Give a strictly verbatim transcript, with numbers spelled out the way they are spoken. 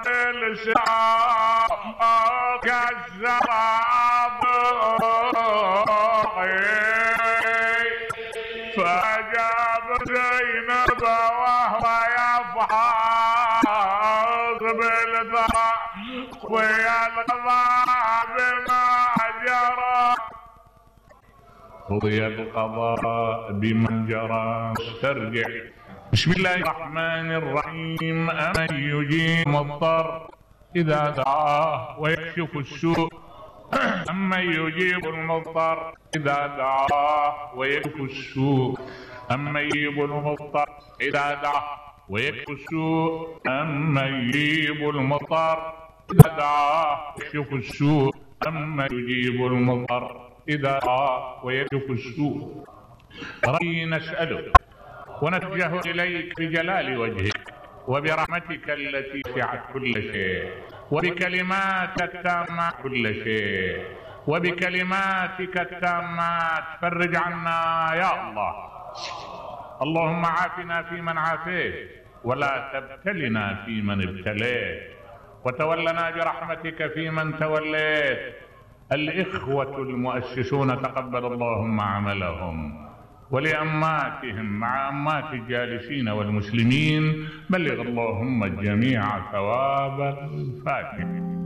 الشام كالشراب فأجاب زينب وهو يفحص بالثرى ويلقضى بما جرى قضي القضاء بمن جرى. ترجع. بسم الله الرحمن الرحيم. أمن يجيب المضطر إذا دعاه ويكشف السوء أمن يجيب المضطر إذا دعاه ويكشف السوء أمن يجيب المضطر إذا دعاه ويكشف السوء أمن يجيب المضطر إذا دعاه ويكشف السوء أمن يجيب المضطر إذا دعاه ويكشف السوء. ربي نسألك ونتوجه إليك بجلال وجهك وبرحمتك التي وسعت كل شيء وبكلماتك التامات كل شيء وبكلماتك التامات فرج عنا يا الله. اللهم عافنا فيمن عافيت ولا تبتلنا فيمن ابتليت وتولنا برحمتك فيمن توليت. الإخوة المؤسسون تقبل اللهم عملهم ولأماتهم مع أمات الجالسين والمسلمين بلغ اللهم الجميع ثواب الفاتحة.